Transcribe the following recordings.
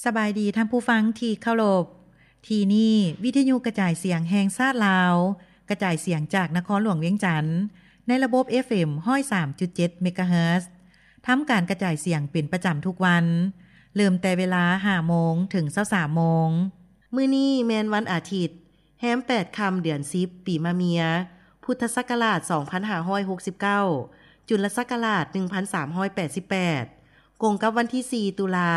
ສະບາຍດີທ່ານຜູ້ຟັງທີ່ເຄົາລົບ. ທີ່ນີ້ວິທະຍຸກະຈາຍສຽງແຫ່ງຊາດລາວ, ກະຈາຍສຽງຈາກນະຄອນຫຼວງວຽງຈັນ ໃນລະບົບ ເອັຟເອັມ ຮ້ອຍສາມຈຸດເຈັດ ເມກາເຮີດ. ທຳການກະຈາຍສຽງເປັນປະຈຳທຸກວັນ, ເລີ່ມແຕ່ເວລາ ຫ້າໂມງ ເຖິງ ຊາວສາມໂມງ. ມື້ນີ້ແມ່ນວັນອາທິດ, ແຮມແປດຄ່ຳ ເດືອນສິບ ປີມະເມຍ, ພຸດທະສັກກະລາດ ສອງພັນຫ້າຮ້ອຍຫົກສິບເກົ້າ, ຈຸນລະສັກກະລາດ ໜຶ່ງພັນສາມຮ້ອຍແປດສິບແປດ, ກົງກັບວັນທີ ສີ່ ຕຸລາ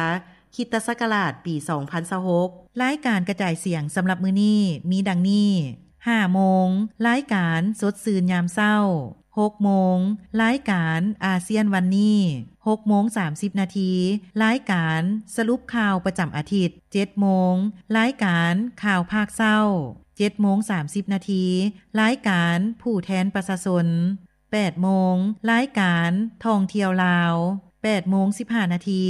ຄຣິສຕະສັກກະລາດ ປີ ສອງພັນຊາວຫົກ. ລາຍການກະຈາຍສຽງສຳລັບມື້ນີ້ມີດັ່ງນີ້: ຫ້າໂມງ ລາຍການສົດຊື່ນຍາມເຊົ້າ, ຫົກໂມງ ລາຍການອາຊຽນວັນນີ້, ຫົກໂມງ ສາມສິບນາທີ ລາຍການສະຫຼຸບຂ່າວປະຈຳອາທິດ, ເຈັດໂມງ ລາຍການຂ່າວພາກເຊົ້າ, ເຈັດໂມງ ສາມສິບນາທີ ລາຍການຜູ້ແທນປະຊາຊົນ, ແປດໂມງ ລາຍການທ່ອງທ່ຽວລາວ, ແປດໂມງ ສິບຫ້ານາທີ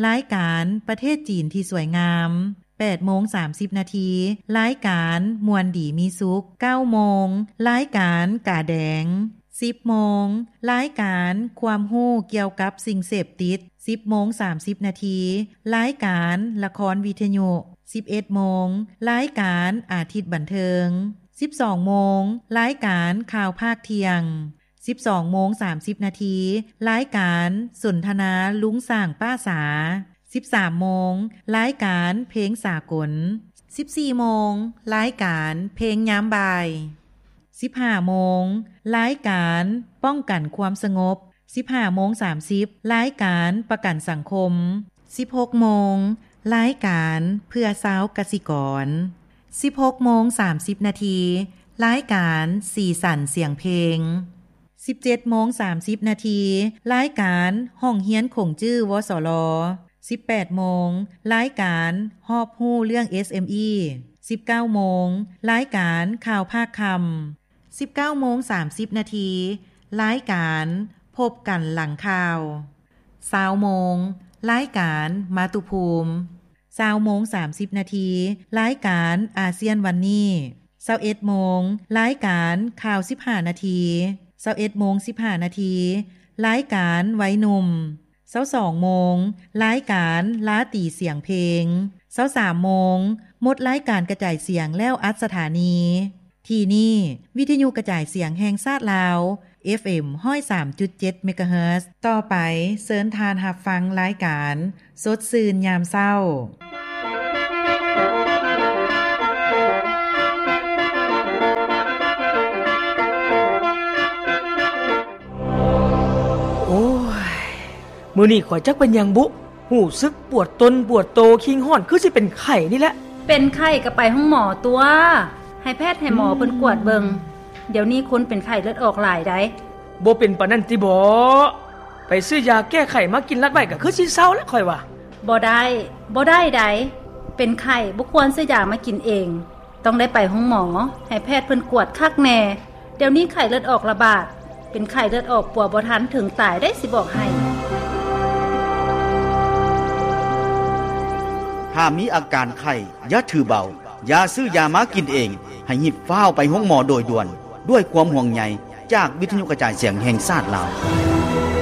ລາຍການປະເທດຈີນທີ່ສວຍງາມ, ແປດໂມງ ສາມສິບນາທີ ລາຍການມ່ວນດີມີສຸກ, ເກົ້າໂມງ ລາຍການກາແດງ, ສິບໂມງ ລາຍການຄວາມຮູ້ກ່ຽວກັບສິ່ງເສບຕິດ, ສິບໂມງ ສາມສິບນາທີ ລາຍການລະຄອນວິທະຍຸ, ສິບເອັດໂມງ ລາຍການອາທິດບັນເທີງ, ສິບສອງໂມງ ລາຍການຂ່າວພາກທ່ຽງ, ສິບສອງໂມງ ສາມສິບນາທີ ລາຍການສົນທະນາລຸງຊ້າງປ້າສາ, ສິບສາມໂມງ ລາຍການເພງສາກົນ, ສິບສີ່ໂມງ ລາຍການເພງຍາມບ່າຍ, ສິບຫ້າໂມງ ລາຍການປ້ອງກັນຄວາມສະຫງົບ, ສິບຫ້າໂມງ ສາມສິບ ລາຍການປະກັນສັງຄົມ, ສິບຫົກໂມງ ລາຍການເພື່ອຊາວກະສິກອນ, ສິບຫົກໂມງ ສາມສິບນາທີ ລາຍການສີສັນສຽງເພງ, ສິບເຈັດໂມງ ສາມສິບນາທີ ລາຍການຫ້ອງຮຽນຂົງຈື່ ວສລ, ສິບແປດໂມງ ລາຍການຮອບຮູ້ເລື່ອງ ເອສເອັມອີ, ສິບເກົ້າໂມງ ລາຍການຂ່າວພາກຄ່ຳ, ສິບເກົ້າໂມງ ສາມສິບນາທີ ລາຍການພົບກັນຫຼັງຂ່າວ, ຊາວໂມງ ລາຍການມາຕຸພູມ, ຊາວໂມງ ສາມສິບນາທີ ລາຍການອາຊຽນວັນນີ້, ຊາວເອັດໂມງ ລາຍການຂ່າວສິບຫ້ານາທີ, ຊາວເອັດໂມງ ສິບຫ້ານາທີ ລາຍການໄວໜຸ່ມ, ຊາວສອງໂມງ ລາຍການລາຕີສຽງເພງ, ຊາວສາມໂມງ ໝົດລາຍການກະຈາຍສຽງແລ້ວອັດສະຖານີ. ທີ່ນີ້ ວິທະຍຸກະຈາຍສຽງແຫ່ງຊາດລາວ ເອັຟເອັມ ຮ້ອຍສາມຈຸດເຈັດ ເມກາເຮີດ. ຕໍ່ໄປເຊີນທ່ານຮັບຟັງລາຍການສົດຊື່ນຍາມເຊົ້າ. ໂອ້ຍ ມື້ນີ້ຂ້ອຍຈັກເປັນຫຍັງບຸ ຮູ້ສຶກປວດຕົນປວດໂຕ ຄີງຮ້ອນ ຄືຊິເປັນໄຂ້ນີ້ແຫຼະ. ເປັນໄຂ້ກໍໄປໂຮງໝໍຕົວະ ໃຫ້ແພດໃຫ້ໝໍເພິ່ນກວດເບິ່ງ. ດຽວນີ້ຄົນເປັນໄຂ້ເລືອດອອກຫຼາຍໃດ໋. ບໍ່ເປັນປານນັ້ນຕິບໍ? ໄປຊື້ຢາແກ້ໄຂ້ມາກິນລັດໄວ້ກໍຄືຊິເຊົາແຫຼະຂ້ອຍວ່າ. ບໍ່ໄດ້ ບໍ່ໄດ້ໃດ໋. ເປັນໄຂ້ບໍ່ຄວນຊື້ຢາມາກິນເອງ. ຕ້ອງໄດ້ໄປໂຮງໝໍ ໃຫ້ແພດເພິ່ນກວດຄັກແນ່. ດຽວນີ້ໄຂ້ເລືອດອອກລະບາດ ເປັນໄຂ້ເລືອດອອກປົວບໍ່ທັນເຖິງຕາຍໄດ໋ ຊິບອກໃຫ້. ຖ້າມີອາການໄຂ້ ຢ່າຖືເບົາ, ຢ່າຊື້ຢາມາກິນເອງ, ໃຫ້ຮີບຟ້າວໄປໂຮງໝໍໂດຍດ່ວນ. ດ້ວຍຄວາມຫ່ວງໃຍຈາກວິທະຍຸກະຈາຍສຽງແຫ່ງຊາດລາວ.